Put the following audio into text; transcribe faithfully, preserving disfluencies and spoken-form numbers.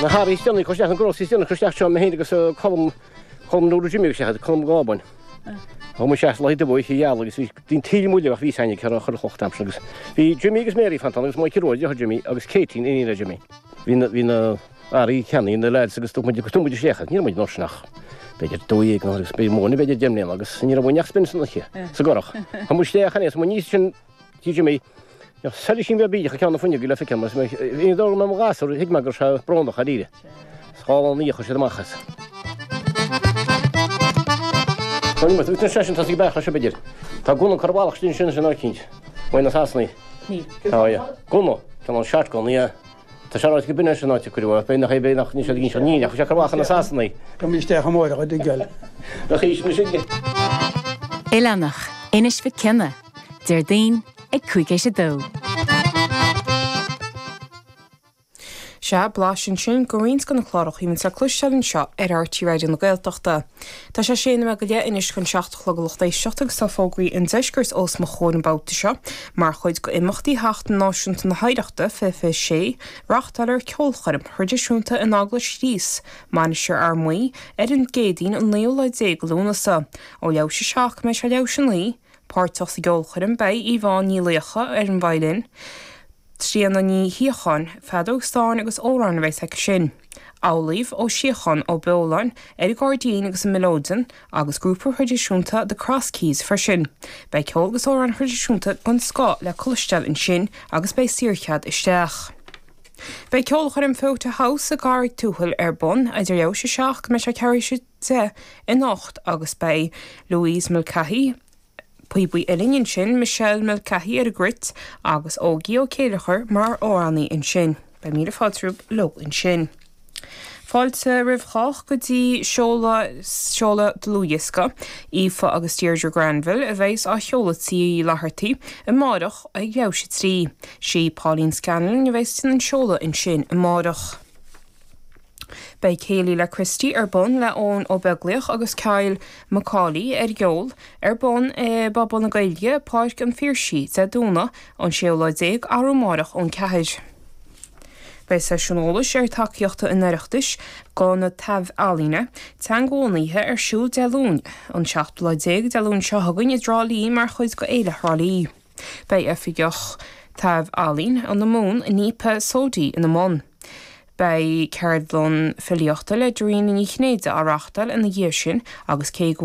Na hearraí is déanaí isteach, na groceries is déanaí isteach seo mé féin agus Colm Colm Nuair Jimmy agus sé Colm Gábain. Thá muid seas lá de bhuí gheal agus bhí dín tíle muile ach bhí saine cear chur chloch am agus bhí Jimmy agus Mary fanta agus Michael Roy deartháir Jimmy agus Katie iníon le Jimmy. Bhí na bhí na earraí ceannaithe na lads agus tú muid tú muid isteach ní raibh muid ná ach b'fhéidir dó dhéag nó agus b'fhéidir mó b'fhéidir deich mbliana agus ní raibh muid ach spin san oíche sa gcurach. Tá muid isteach aníos muid níos sin tí Jimmy Seile sin bheith bídeach ceann na fuinneoige le feiceáil mar bhí dó mé mo ghasúr thuig mé go raibh sé brónach dáiríre. Scála an oíche chuir siad amach as. Tá ní mar seisean tá sí beach se b'fhéidir. Tá gunna curtha amach sin sin sin áicínt. Uaidh na Sasanaigh. Tá yeah. Gunna Tá an shotgun yeah. Tá sé ráite go b'in sin áit a cuireadh b'fhéidir nach é b'fhéidir nach ní sé gin ní nach sé curtha amach na Sasanaigh. Tá mé isteach amárach a dtuigeáil. Nach í sin sin. Oileánach, Inis Mhic Cionnaith, Déardaoin ag cúig théis a dó. Sea, blaiseadh ansin de roinnt de na cláracha a bhíonn le cloisteáil anseo ar RTÉ Raidió na Gaeltachta. Tá sé sé nóiméad go leith anois chun seacht a chlog a lucht éisteachta agus tá fógraí an deiscirt os mo chomhair an babhta seo, mar chuid d'imeachtaí Sheachtain Náisiúnta na hOidhreachta fiche fiche sé, reáchtáilfear ceolchoirm thraidisiúnta in Eaglais Chríost, Mainistir Fhear Maí, ar an gCéadaoin an naoú lá déag Lúnasa. Ó leathuair théis a seacht go mbeidh sé leathuair théis a naoi, páirteach sa gceolchoirm beidh Yvonne Ní Laocha ar an veidhlin, Tríona Ní Shíocháin, feadóg stáin agus amhráin a bheas aici sin. Amhlaoibh Ó Síocháin Ó Beoláin ar an gcairdín agus an mileoidean agus grúpa thraidisiúnta The Cross Keys freisin. Beidh ceol agus amhráin thraidisiúnta den scoth le cloisteáil ansin agus beidh saorchead isteach. Beidh ceolchoirm Fota House i gCarraig Tuathail ar bun idir leathuair théis a seacht go mbeidh sé ceathrú théis a deich anocht agus beidh Louise Mulcahy, Píobaí uilleann ansin, Michelle Mulcahy ar an gcruit agus Ógie Ó Céileachair mar amhránaí ansin. Beidh míle fáilte romhaibh leo ansin. Fáilte roimh chách go dtí seoladh seoladh dlúthdhiosca, Aoife agus Deirdre Granville a bheas á sheoladh Tigh Uí Fhlathartaigh amárach ag leathuair théis a trí. Sí Pauline Scanlon a bheas an seoladh ansin amárach. Beidh Céilí le Christy ar bun le Eoin Ó Beaglaoich agus Kyle Macaulay ar gceol ar bun i bPuball na Gaeilge, Páirc an Phiarsaigh, Dé Domhnaigh an séú lá déag arú amárach ón ceathair. Beidh seisiún eolais ar tacaíochta an Oireachtais do na taibh-ealaíona teangabhunaithe ar siúl Dé Luain an seachtú lá déag Dé Luain seo chugainn i dTrá Lí mar chuid de Fhéile Thrá Lí. Beidh oifigeach taibh-ealaíon na Mumhan Nipa Sodi ina mbun. Beidh ceardlann filíochta le Dairena Ní Chinnéide á reáchtáil ina dhiaidh sin agus cé go